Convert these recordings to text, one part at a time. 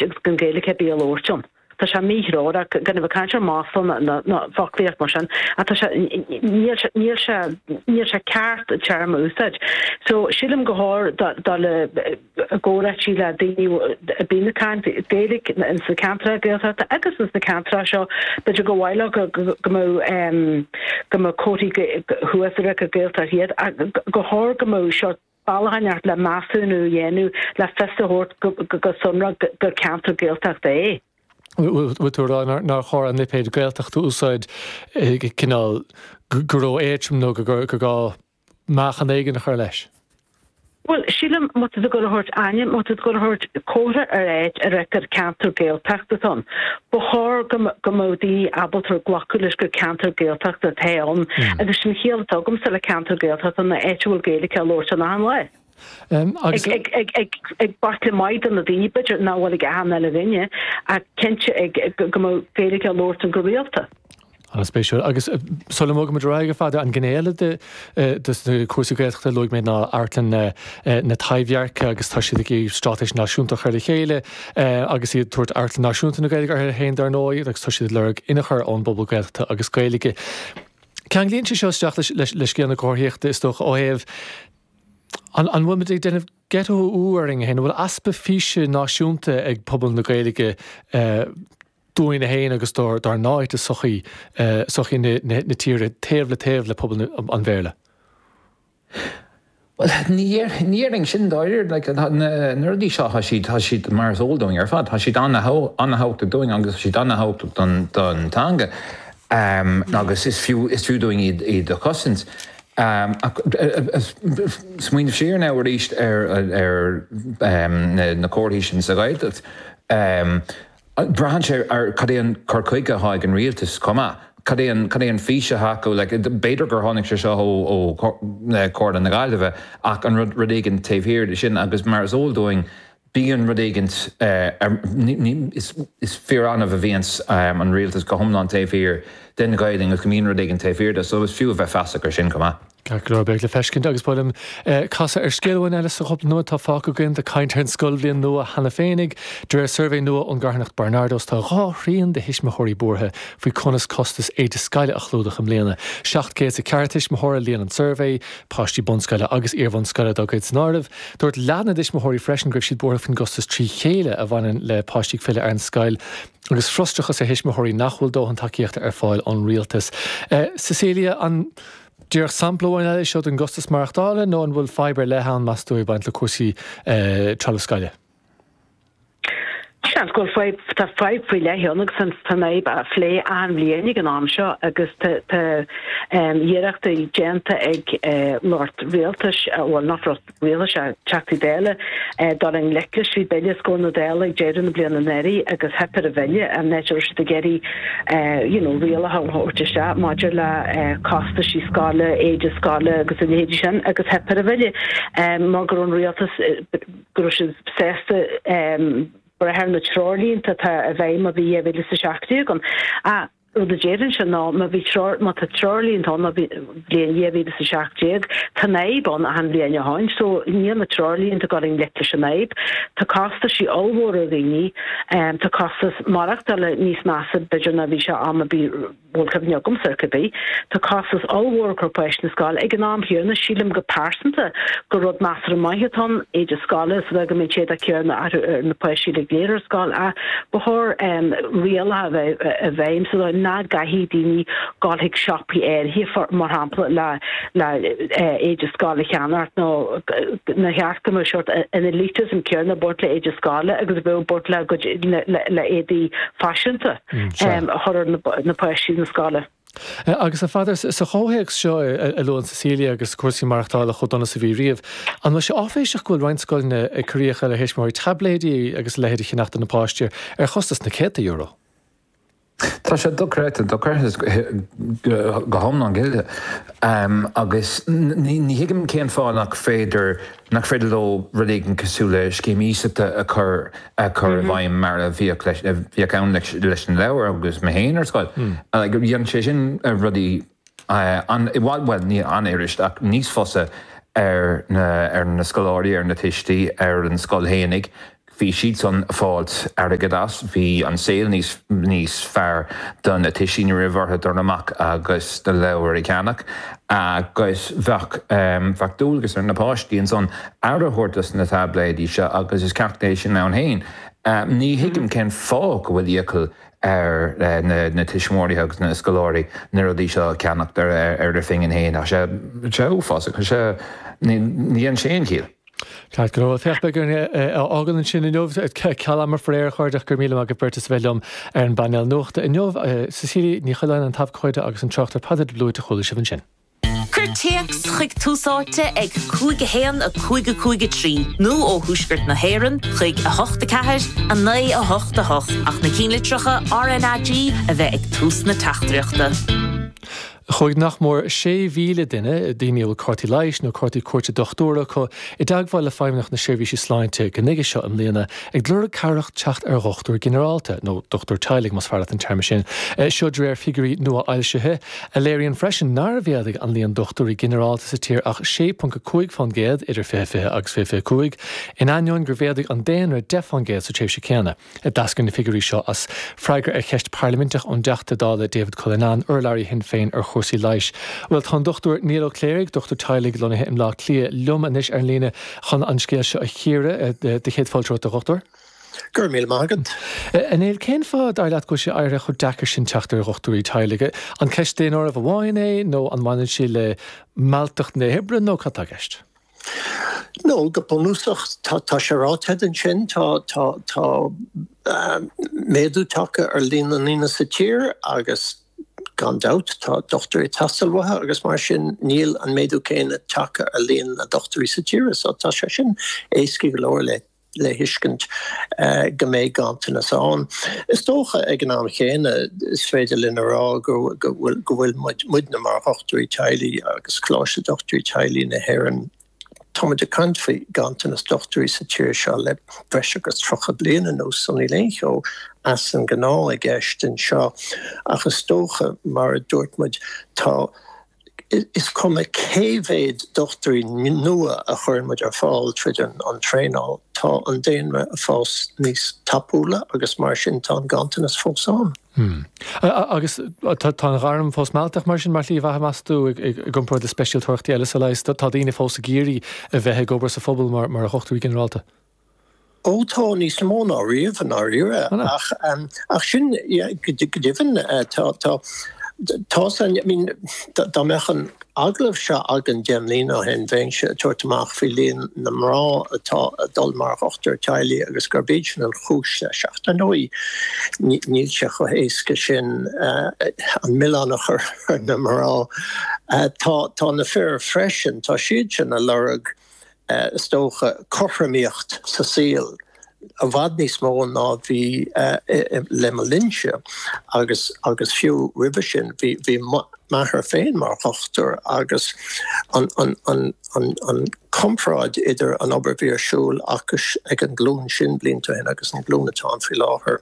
Agus gan Gaeilge ar bith á labhairt ann. Tá sé míthreorach, gan a bheith ag caint ar mhasla ná foclaíocht mar sin, ach tá sé, níl sé, níl sé, níl sé ceart an téarma a úsáid. So, sílim gur chóir dul i gcomhráití le daoine a bíonn ag caint Gaeilge ins na ceantracha Gaeltachta agus ins na ceantracha seo, b'fhéidir gur mhaith leo go mbeadh, go mbeadh comharthaí thuas a rá gur Gaeltacht iad ach gur chóir go mbeadh seo bealach inteacht le measúnú a dhéanamh le fios a thabhairt go sonrach gur ceantar Gaeltachta é. Bhfuil tú ag rá nár chóir an lipéad Gaeltacht a úsáid cineál go ró-éadrom nó gur gá meáchan éigin a chur leis? Bhuel, sílim má tá tú ag dul a thabhairt ainm, má tá tú ag dul a thabhairt comhartha ar áit a rá gur ceantar Gaeltachta atá ann, ba chóir go mbeadh daoine ábalta glacadh leis gur ceantar Gaeltachta atá ann agus sin an chiall atá agamsa le ceantar Gaeltachta ná áit a bhfuil Gaeilge á labhairt ann achan lá. Ag baicle maith de na daoine, b'fhéidir nach bhfuil ag achan uile dhuine, ach cinnte go mbeadh Gaeilge á labhairt ann go rialta. An-spéisiúil. Agus sula mbogaimid ar aghaidh, a Pheadair, an ghné eile de na cúrsaí Gaeltachta a luaigh mé ná Amharclann na Taibhdheirce agus tá siad ag iarraidh straitéis náisiúnta a chur le chéile agus iad ag tabhairt Amharclann Náisiúnta na Gaeilge orthu féin dar ndóigh agus tá siad ag lorg inchur ón bpobal Gaeltachta agus Gaeilge. Ceanglaíonn sé seo isteach le scéal na comharthaíochta is dócha ó thaobh an bhfuil muid ag déanamh ghetto orainn féin, an bhfuil easpa físe náisiúnta ag pobal na Gaeilge dúinn féin agus dár n-áit i sochaí, sochaí na tíre, taobh le taobh le pobal an Bhéarla. Bhuel, ní déarfainn sin dáiríre. Like, na rudaí seo, tá siad, tá siad mar is eol dúinn ar fad, tá siad an-thábhachtach dúinn agus tá siad an-thábhachtach don, don teanga agus is fiú, is fiú dúinn iad, iad a chosaint. Ach smaoineamh siar now arís ar, ar na comharthaí sin sa Ghaeltacht. Braitheann sé ar cad é an cur chuige atá ag an rialtas chomh maith. Cad é an, cad é an fís atá acu? Like, b'fhéidir gur tháinig sé seo ó, ó Chomhairle na Gaillimhe ach an rud, rud éigin taobh thiar de sin agus mar is eol dúinn bíonn rud éigin ar, ní, ní, is, is fíor-annamh a bhíonns an rialtas go hiomlán taobh thiar den Ghaelainn agus go mbíonn rud éigin taobh thiar de so is fiú a bheith feasach ar sin chomh maith. Ceart go leor, beidh le feiscint agus ba mhaith liom casadh ar scéal amháin eile sa chúpla nóiméad atá fágtha againn. Tá caint ar an scoilbhliain nua cheana féinig. De réir suirbhé nua ón gcarthanacht Barnardos, tá 2/3 de thuismitheoirí buartha faoi conas costas éide scoile a chlúdach i mbliana. 704 tuismitheoir a líon an suirbhé, páistí bunscoile agus iarbhunscoile dá gcuid san áireamh. Dúirt leath na dtuismitheoirí freisin go raibh siad buartha faoin gcostas trí chéile a bhaineann le páistí ag filleadh ar an scoil. Agus frustrachas ar thuismitheoirí nach bhfuil dóthain tacaíochta ar fáil ón rialtas. Cecilia, an. Díreach sampla amháin eile é seo den gcostas maireachtála nó an bhfuil fadhb ar leith ann, meas tú, ag baint le cúrsaí trealamh scoile? Seans go bhfuil fadhb, tá fadhb faoi leith ann agus tá an fhadhb á phlé achan bhliain ag an am seo agus tá tá iarrachtaí déanta ag lucht rialtais, bhuel nach lucht rialtais ach Teachtaí Dála, dul i ngleic leis. Bhí bille os comhair na Dála ag deireadh na bliana anuraidh agus theip ar an bhille an áit a raibh siad ag iarraidh you know rialacha a thabhairt isteach maidir le costaisí scoile, éide scoile agus a leithéidí sin agus theip ar an bhille mar go raibh an rialtas go raibh siad sásta breith ar na treoirlínte atá i bhfeidhm ó bhí 2017 ann. Ach Rud a déarfainnse ná má bhí treoir, má tá treoirlínte ann ó bhliain 2017, tá an fhadhb ann achan bhliain ó shoin, so níl na treoirlínte ag dul i ngleic leis an fhadhb. Tá costaisí ollmhóra ar dhaoine, tá costas maireachtála níos measa b'fhéidir ná bhí sé am ar bith, bhfuil cuimhne agamsa ar cibé. Tá costas ollmhór ag cur páistí na scoile. Ag an am chéanna, sílim go pearsanta gur rud measartha maith atá ann, éide scoile, sa dóigh go mbeidh an t-éadach céanna ar na páistí uilig go léir ar scoil ach ba chóir rialacha a bheith i bhfeidhm sa dóigh nach gcaithfidh daoine dul chuig siopaí áirithe, mar shampla, le le éide scoile a cheannacht nó nár cheart go mbeadh sórt an elitism céanna ag baint le éide scoile agus a bheadh ag baint le le le éadaí faiseanta a chur ar na páistí na scoile. Agus a Pheadair, sa chomhthéacs seo a luann Cecilia agus cúrsaí maireachtála chomh dona is a bhí riamh, an bhfuil sé áiféiseach go bhfuil roinnt scoileanna ag cur iachall ar thuismitheoirí taibléidí agus a leithéid a cheannach do na páistí ar chostas na céadta euro? Tá sé dochreidte, dochreidte go hiomlán cinnte. Agus ní thuigim cén fáth nach féidir, nach féidir leo rud éigin cosúil le scéim iasachta a chur a chur i bhfeidhm mar a bhíodh leis, a bhíodh ann leis leis na leabhair agus mé féin ar scoil. Like dhein sé sin rudaí an, i bhfad, bhuel ní an-fhuirist ach níos fusa ar na, ar na scoláirí, ar na tuistí, ar an scoil fhéinig. Bhí siadsan ag fáilt airgead as, bhí an saol níos níos fearr do na tuistí, ní raibh orthu dul amach agus na leabhair a cheannach agus bheadh bheadh dualgas ar na páistí ansan aire a thabhairt dos na táibléidí seo agus is ceacht é sin ann féin. Ní thuigim cén fáth go bhfuil iachall ar na tuismitheoirí agus na scoláirí na rudaí seo a cheannacht ar a phingin féin. Tá sé uafásach. Tá sé, ní dhéanann sé aon chiall. Ceart go leor. Féach, beidh orainn é a fhágáil ansin inniu. Ceal ama faraor, a chairde, ach go raibh míle maith agaibh beirt as a bheith liom ar an bpainéal nuachta inniu. Cecilia Ní Choileáin, an t-abhcóide, agus an tráchtaire Peadar de Blúit a chuala sibh ansin. Cuir téacs chuig Tús Áite ag 5 1 5 5 3 nó ó Thuaisceart na hÉireann chuig 8 4 9 8 8 ach na cinnlitreacha RnaG a bheith ag tús na teachtaireachta. Chuaigh nach mór 6,000 duine, daoine a bhfuil cártaí leighis nó cártaí cuairte dochtúra acu, i dteagmháil le Feidhmeannacht na Seirbhíse Sláinte go nuige seo i mbliana, ag lorg cabhrach teacht ar dhochtúir ginearálta, nó dochtúir teaghlaigh más fearr leat an téarma sin. Seo de réir figiúirí nua-fhoilsithe, a léiríonn freisin nár mhéadaigh an líon dochtúirí ginearálta sa tír ach 6.5% idir 2020 agus 2025, in ainneoin gur mhéadaigh an daonra 10% sa tréimhse chéanna. D'eascair na figiúirí seo as freagra ar cheist parlaiminteach ón dTeachta Dála David Cullinane, urlabhraí Shinn Féin ar chúrsaí leighis. Bhuel, tá an Dr Niall Ó Cléirigh, dochtúir teaghlaigh lonnaithe i mBleá Cliath, liom anois ar an líne chun an scéal seo a chíoradh. Do chéad fáilte romhat, a dhochtúir. Go raibh míle maith agat. A Néill, cén fáth, dar leat, go bhfuil sé éirithe chomh deacair sin teacht ar dhochtúirí teaghlaigh? An ceist daonáirimh amháin é nó an mbaineann sé le mealltacht na hoibre nó cad tá i gceist? No, go bunúsach, tá, tá sé ráite agat ansin, tá, tá, tá méadú tagtha ar líon na ndaoine sa tír agus gan dabht tá dochtúirí ag teastáil uathu agus mar sin níl an méadú céanna tagtha ar líon na ndochtúirí sa tír so tá sé sin éasca go leor le le thuiscint go mbeidh ganntanas ann. Is dócha ag an am chéanna is féidir linn a rá go bhfuil go bhfuil muid muidne mar dhochtúirí teaghlaigh agus Coláiste Dochtúirí Teaghlaigh na hÉireann, tá muid ag caint faoi ghanntanas dochtúirí sa tír seo le breis agus 30 bliain anuas so níl aon cheo as an ngnáth i gceist anseo ach is dócha mar a dúirt muid tá Is cuma cé mhéad dochtúirí nua a chuireann muid ar fáil tríd an traenáil, tá an daonra ag fás níos tapúla agus mar sin tá an ganntanas fós ann. Agus tá an ghairm fós mealltach mar sin mar shlí bheatha, meas tú, i gcomparáid le speisialtóireachtaí eile sa leigheas? Tá daoine fós ag iarraidh a bheith ag obair sa phobal mar dhochtúirí ginearálta? Ó tá, níos mó ná riamh i ndáiríre. Ach, ach sin, yeah, go deimhin, tá, tá, tá san, I mean, dá mbeadh an agallamh seo againn 10 mbliana ó shin, bheinnse ag tabhairt amach faoi líon na mná atá ag dul mar dhochtúir teaghlaigh agus gurb iad sin an chúis leis. Ach dar ndóigh, níl sé chomh héasca sin an milleán a chur ar na mná. Tá, tá na fir freisin, tá siad sin ag lorg is dócha, cothromaíocht sa saol i bhfad níos mó ná bhí le mo linnse agus agus fiú roimhe sin bhí bhí m'athair féin mar dhochtúir agus an an an an an comparáid idir an obair a bhí ar siúl acu ag an nglúin sin blianta ó shin agus an glúin atá ann faoi láthair.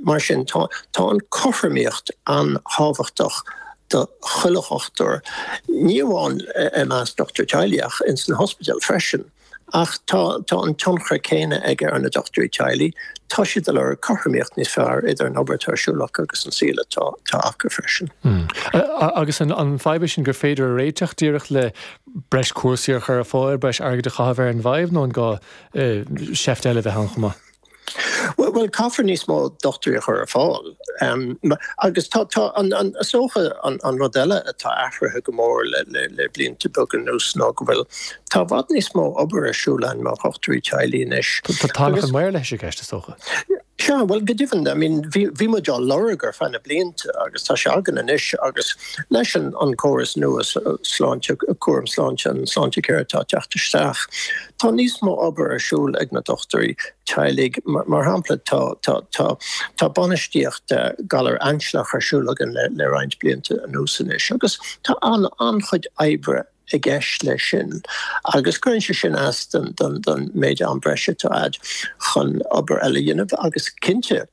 Mar sin tá tá an cothromaíocht an-tábhachtach do chuile dhochtúir, ní amháin i measc dochtúirí teaghlaigh ach ins na hospidéil freisin. Ach tá tá an tionchar céanna aige ar na dochtúirí teaghlaigh, tá siad ag lorg cothromaíocht níos fearr idir an obair atá ar siúl acu agus an saol atá atá acu freisin. Agus an an fadhb é sin gur féidir a réiteach díreach le breis cúrsaí a chur ar fáil, breis airgid a chaitheamh ar an bhfadhb nó an gá seift eile a bheith ann chomh maith? Bhuel, caithfear níos mó dochtúirí a chur ar fáil. Agus tá, tá, an, an, is dócha an, an rud eile atá athraithe go mór le, le, le blianta beaga anuas ná go bhfuil, tá i bhfad níos mó obair ar siúl againn mar dhochtúirí teaghlaigh anois. Tá tánach an maorlathais i gceist, is dócha. Sea, bhuel, go deimhin, I mean, bhí, bhí muid á lorg ar feadh na blianta agus tá sé againn anois agus leis an, an córas nua sláinte, cúram sláinte, an Sláintecare atá ag teacht isteach, Tá níos mó obair ar siúl ag na dochtúirí teaghlaigh. Mar shampla, tá bainistíocht galar ainsealach ar siúl againn le roinnt blianta anuas anois agus tá an-chuid oibre i gceist leis sin agus cuireann sé sin as don méid am breise atá agat chun obair eile a dhéanamh agus cinnte,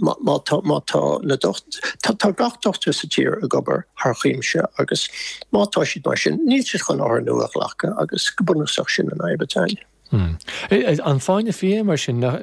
má tá, má tá na docht, tá, tá gach dochtúir sa tír ag obair thar cuimse agus má tá siad mar sin, níl siad chun othair nua a ghlacadh agus go bunúsach sin an fhadhb atá ann. An fáinne fí é mar sin nach.